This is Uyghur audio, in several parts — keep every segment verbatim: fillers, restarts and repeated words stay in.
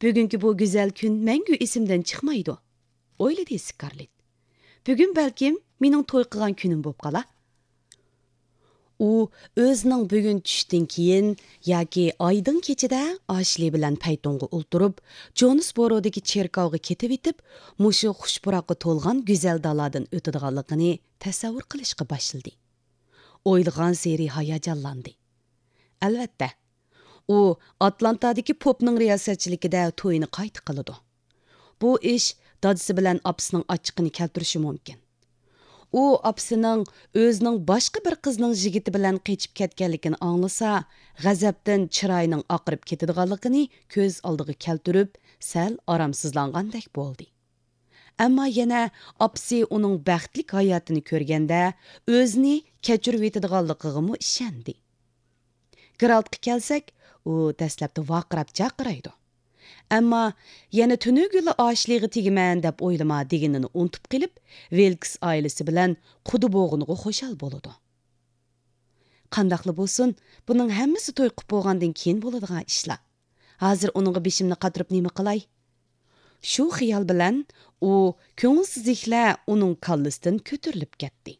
بۈگۈنكى بۇ گۈزەل كۈن مەڭگۈ ئېسىمدىن چىقمايدۇ، ئويلىدى سكارلېت. بۈگۈن بەلكىم مېنىڭ توي قىلغان كۈنۈم بوپ قالا. ئۇ ئۆزىنىڭ بۈگۈن چۈشتىن كېيىن ياكى ئايدىڭ كېچىدە ئاشلى بىلەن پەيتونغا ئولتۇرۇپ، جونسبورودىكى چېركاۋغا كېتىۋېتىپ، مۇشۇ خۇش پۇراققا تولغان گۈزەل دالادىن ئۆتىدىغانلىقىنى تەسەۋۋۇر قىلىشقا باشلىدى. ئويلىغانسېرى ھاياجانلاندى. ئەلۋەتتە، ئۇ ئاتلانتادىكى پوپنىڭ رىياسەتچىلىكىدە تويىنى قايتا قىلىدۇ. بۇ ئىش دادىسى بىلەن ئاپىسىنىڭ ئاچچىقىنى كەلتۈرۈشى مۇمكىن. ئۇ ئاپىسىنىڭ ئۆزىنىڭ باشقا بىر قىزنىڭ يىگىتى بىلەن قېچىپ كەتكەنلىكىنى ئاڭلىسا، غەزەپتىن چىرايىنىڭ ئاقىرىپ كېتىدىغانلىقىنى كۆز ئالدىغا كەلتۈرۈپ، سەل ئارامسىزلانغاندەك بولدى. ئەمما يەنە ئاپىسى ئۇنىڭ بەختلىك ھاياتىنى كۆرگەندە، ئۆزىنى كەچۈرۈۋېتىدىغانلىقىغىمۇ ئىشەندى. گېرالتقا كەلسەك، ئۇ دەسلەپتە ۋارقىراپ جارقىرايدۇ. ئەمما يەنە تۈنۈگۈنلا ئاشلىغا تېگىمەن دەپ ئويلىما دېگىنىنى ئۇنتۇپ قېلىپ، ۋىلكس ئائىلىسى بىلەن قۇدا بوغىنىغا خۇشال بولىدۇ. قانداقلا بولسۇن، بۇنىڭ ھەممىسى توي قىپ بولغاندىن كېيىن بولىدىغان ئىشلار. ھازىر ئۇنىڭغا بېشىمنى قاتۇرۇپ نېمە قىلاي؟ شۇ خىيال بىلەن ئۇ كۆڭۈلسىزلىكلەر ئۇنىڭ كاللىسىدىن كۆتۈرۈلۈپ كەتتى.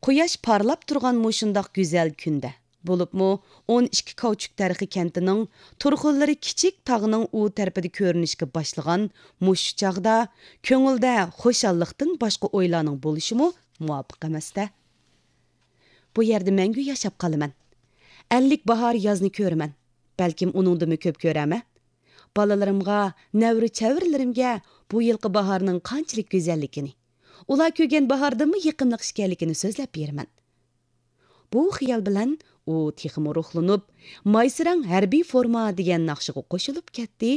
قۇياش پارلاپ تۇرغان مۇشۇنداق گۈزەل كۈندە، بولۇپمۇ ئون ئىككى كاۋچۇك دەرىخى كەنتىنىڭ تۇرخۇنلىرى كىچىك تاغنىڭ ئۇ تەرىپىدە كۆرۈنۈشكە باشلىغان مۇشۇ چاغدا كۆڭۈلدە خۇشاللىقتىن باشقا ئويلارنىڭ بولۇشىمۇ مۇۋاپىق ئەمەستە. بۇ يەردە مەڭگۈ ياشاپ قالىمەن. ئەللىك باھار يازنى كۆرىمەن. بەلكىم ئۇنىڭدىنمۇ كۆپ كۆرەرمەن. بالىلىرىمغا، نەۋرە-چەۋرىلىرىمگە بۇ يىلقى باھارنىڭ قانچىلىك گۈزەللىكىنى، ئۇلار كۆرگەن باھاردىنمۇ يېقىملىق ئىكەنلىكىنى سۆزلەپ بېرىمەن. بۇ خىيال بىلەن ئۇ تېخىمۇ روھلىنىپ، مايسىراڭ ھەربىي فورما دېگەن ناخشىغا قوشۇلۇپ كەتتى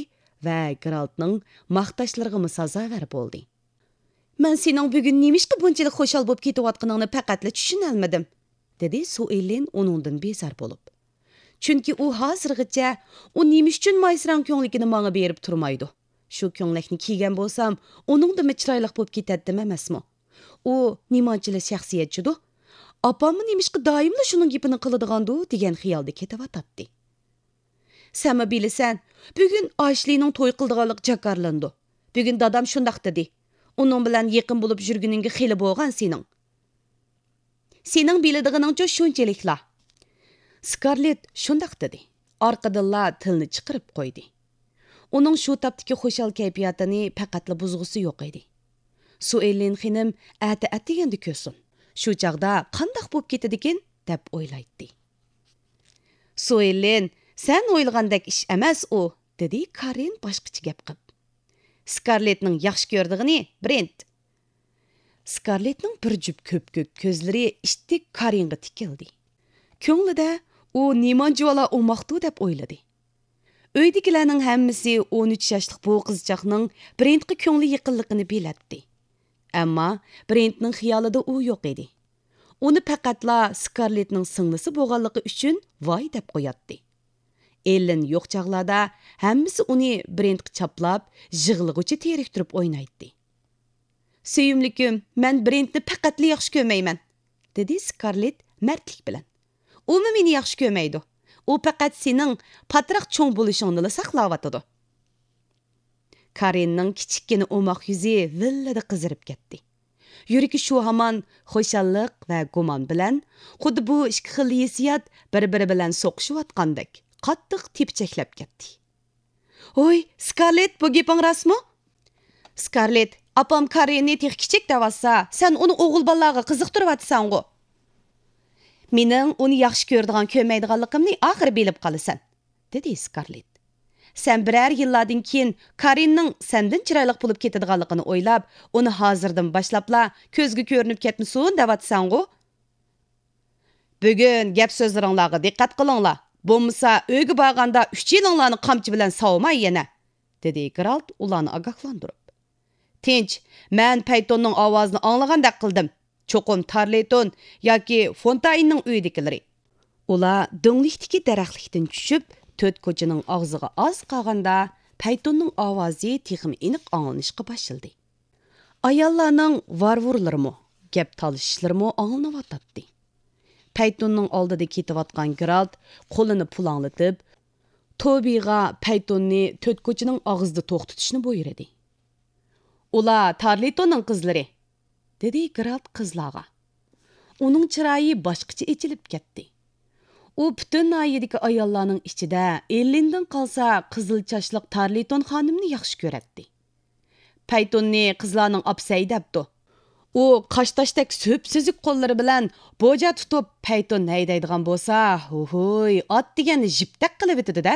ۋە گېرالتنىڭ ماختاشلىرىغىمۇ سازاۋەر بولدى. مەن سېنىڭ بۈگۈن نېمىشقا بۇنچىلىك خۇشال بولۇپ كېتىۋاتقىنىڭنى پەقەتلا چۈشىنەلمىدىم، دېدى سۇئېللىن ئۇنىڭدىن بىزار بولۇپ. چۈنكى ئۇ ھازىرغىچە ئۇ نېمە ئۈچۈن مايسىراڭ كۆڭلىكىنى ماڭا بېرىپ تۇرمايدۇ؟ شۇ كۆڭلەكنى كىيگەن بولسام، ئۇنىڭدىنمۇ چىرايلىق بولۇپ كېتەتتىم ئەمەسمۇ؟ ئۇ نېمانچىلا شەخسىيەتچىدۇ؟ ئاپاممۇ نېمىشقا دائىملا شۇنىڭ گېپىنى قىلىدىغاندۇ دېگەن خىيالدا كېتىۋاتاتتى. سەنمۇ بىلىسەن، بۈگۈن ئاشلىنىڭ توي قىلىدىغانلىقى جاكارلىنىدۇ. بۈگۈن دادام شۇنداق دېدى. ئۇنىڭ بىلەن يېقىن بولۇپ يۈرگىنىڭگە خېلى بولغان سېنىڭ. سېنىڭ بىلىدىغىنىڭچۇ شۇنچىلىكلا. سكارلېت شۇنداق دېدى. ئارقىدىنلا تىلنى چىقىرىپ قويدى. ئۇنىڭ شۇ تاپتىكى خۇشال كەيپىياتىنى پەقەتلا بۇزغۇسى يوق ئىدى. سۇئېللىن خېنىم ئەتە ئەتىگەندە كۆرسۇن. شۇ چاغدا قانداق بولۇپ كېتىدىكىن، دەپ ئويلايتتى. سۇئېللىن، سەن ئويلىغاندەك ئىش ئەمەس ئۇ، دېدى كارىن باشقىچە گەپ قىپ. سكارلېتنىڭ ياخشى كۆرىدىغىنى برېنت. سكارلېتنىڭ بىر جۈپ كۆپكۆك كۆزلىرى ئىتتىك كارىنغا تىكىلدى. كۆڭلىدە ئۇ نېمانچىۋالا ئوماقتۇ دەپ ئويلىدى. ئۆيدىكىلەرنىڭ ھەممىسى ئون ئۈچ ياشلىق بۇ قىزچاقنىڭ برېنتقا كۆڭلى يېقىنلىقىنى بىلەتتى. ئەمما برېنتنىڭ خىيالىدا ئۇ يوق ئىدى. ئۇنى پەقەتلا سكارلېتنىڭ سىڭلىسى بولغانلىقى ئۈچۈن ۋاي دەپ قوياتتى. ئېللېن يوق چاغلاردا ھەممىسى ئۇنى برېنتقا چاپلاپ، يىغلىغۇچە تېرىكتۈرۈپ ئوينايتتى. سۆيۈملۈكۈم، مەن برېنتنى پەقەتلا ياخشى كۆرمەيمەن، دېدى سكارلېت مەردلىك بىلەن. ئۇمۇ مېنى ياخشى كۆرمەيدۇ. ئۇ پەقەت سېنىڭ پاتراق چوڭ بولۇشۇڭنىلا ساقلاۋاتىدۇ. كارىننىڭ كىچىككىنە ئوماق يۈزى ۋىللىدە قىزىرىپ كەتتى. يۈرىكى شۇ ھامان خۇشاللىق ۋە گۇمان بىلەن، خۇددى بۇ ئىككى خىل ھېسسىيات بىر-بىرى بىلەن سوقۇشۇۋاتقاندەك، قاتتىق تېپىچەكلەپ كەتتى. ھوي، سكارلېت، بۇ گېپىڭ راستمۇ؟ سكارلېت، ئاپام كارىننى تېخى كىچىك دەۋاتسا، سەن ئۇنى ئوغۇل بالىلارغا قىزىقتۇرۇۋاتىسەنغۇ؟ مېنىڭ ئۇنى ياخشى كۆرىدىغان، كۆرمەيدىغانلىقىمنى ئاخىرى بىلىپ قالىسەن، دېدى سكارلېت. سەن بىرەر يىللاردىن كېيىن كارىننىڭ سەندىن چىرايلىق بولۇپ كېتىدىغانلىقىنى ئويلاپ، ئۇنى ھازىردىن باشلاپلا كۆزگە كۆرۈنۈپ كەتمىسۇن دەۋاتىسەنغۇ؟ بۈگۈن گەپ سۆزلىرىڭلارغا دىققەت قىلىڭلار. بولمىسا ئۆيگە بارغاندا ئۈچىلىڭلارنى قامچا بىلەن ساۋىماي يەنە، دېدى گېرالت ئۇلارنى ئاگاھلاندۇرۇپ. تىنچ، مەن پەيتوننىڭ ئاۋازىنى ئاڭلىغاندەك قىلدىم. چوقۇم تارلېيتون ياكى فونتايننىڭ ئۆيىدىكىلىرى. ئۇلار دۆڭلۈكتىكى دەرەخلىكتىن چۈشۈپ، تۆت كوچىنىڭ ئاغزىغا ئاز قالغاندا، پەيتوننىڭ ئاۋازى تېخىمۇ ئېنىق ئاڭلىنىشقا باشلىدى. ئاياللارنىڭ ۋارۋۇرلىرىمۇ، گەپ تالىشىشلىرىمۇ ئاڭلىنىۋاتاتتى. پەيتوننىڭ ئالدىدا كېتىۋاتقان گېرالت قولىنى پۇلاڭلىتىپ، توبىغا پەيتوننى تۆت كوچىنىڭ ئاغزىدا توختىتىشنى بۇيرۇدى. «ئۇلار تارلىتوننىڭ قىزلىرى»، دېدى گرالت قىزلارغا. ئۇنىڭ چىرايى باشقىچە ئېچىلىپ كەتتى. ئۇ پۈتۈن ناھىيىدىكى ئاياللارنىڭ ئىچىدە ئېللىندىن قالسا قىزىل چاچلىق تارلىتون خانىمنى ياخشى كۆرەتتى. پەيتوننى قىزلارنىڭ ئاپىسى ھەيدەپتۇ. ئۇ قاشتاشتەك سۈپسۈزۈك قوللىرى بىلەن بوجا تۇتۇپ، پەيتون ھەيدەيدىغان بولسا، ھوھۇي، ئات دېگەننى جىپتەك قىلىۋېتىدۇ-دە.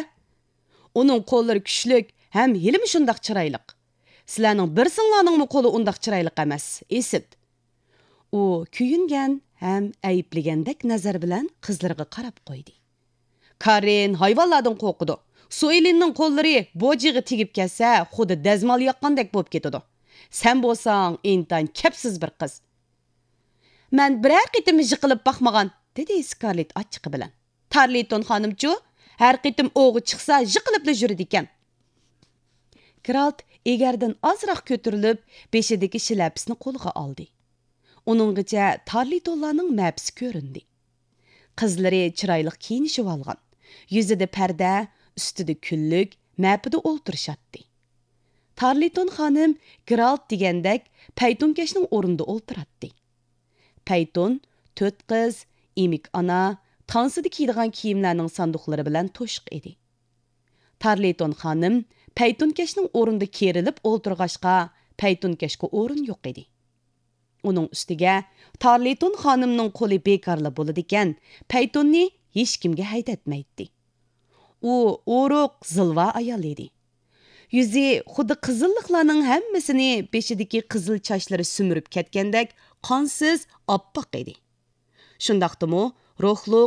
ئۇنىڭ قوللىرى كۈچلۈك ھەم ھېلىمۇ شۇنداق چىرايلىق. سىلەرنىڭ بىرسىڭلارنىڭمۇ قولى ئۇنداق چىرايلىق ئەمەس، ئىسىت. ئۇ كۆيۈنگەن ھەم ئەيىبلىگەندەك نەزەر بىلەن قىزلىرىغا قاراپ قويدى. كارىن ھايۋانلاردىن قورقىدۇ. سۇئېلىننىڭ قوللىرى بوجىغا تېگىپ كەتسە، خۇددى دەزمال ياققاندەك بولۇپ كېتىدۇ. سەن بولساڭ ئىنتايىن كەپسىز بىر قىز. مەن بىرەر قېتىم يىقىلىپ باقمىغان، دېدى سكارلېت ئاچچىقى بىلەن. تارلىتون خانىمچۇ، ھەر قېتىم ئوغا چىقسا يىقىلىپلا يۈرىدىكەن. گرالت ئېگەردىن ئازراق كۆتۈرۈلۈپ، بېشىدىكى شىلەپىسىنى قولىغا ئالدى. ئۇنىڭغىچە تارلىتونلارنىڭ مەپىسى كۆرۈندى. قىزلىرى چىرايلىق كىيىنىشىۋالغان. يۈزىدە پەردە، ئۈستىدە كۈنلۈك، مەپىدە ئولتۇرۇشاتتى. تارلىتون خانىم گرالت دېگەندەك پەيتونكەشنىڭ ئورنىدا ئولتۇراتتى. پەيتون، تۆت قىز، ئېمىك ئانا، تانسىدا كىيىدىغان كىيىملەرنىڭ ساندۇقلىرى بىلەن توشۇق ئىدى. تارلىتون خانىم پەيتونكەشنىڭ ئورنىدا كېرىلىپ ئولتۇرغاچقا، پەيتونكەشكە ئورۇن يوق ئىدى. ئۇنىڭ ئۈستىگە تارلىتون خانىمنىڭ قولى بىكارلا بولىدىكەن، پەيتوننى ھېچكىمگە ھەيدەتمەيتتى. ئۇ ئورۇق، زىلۋا ئايال ئىدى. يۈزى خۇددى قىزىللىقلارنىڭ ھەممىسىنى بېشىدىكى قىزىل چاچلىرى سۈمۈرۈپ كەتكەندەك قانسىز ئاپئاق ئىدى. شۇنداقتىمۇ روھلۇق،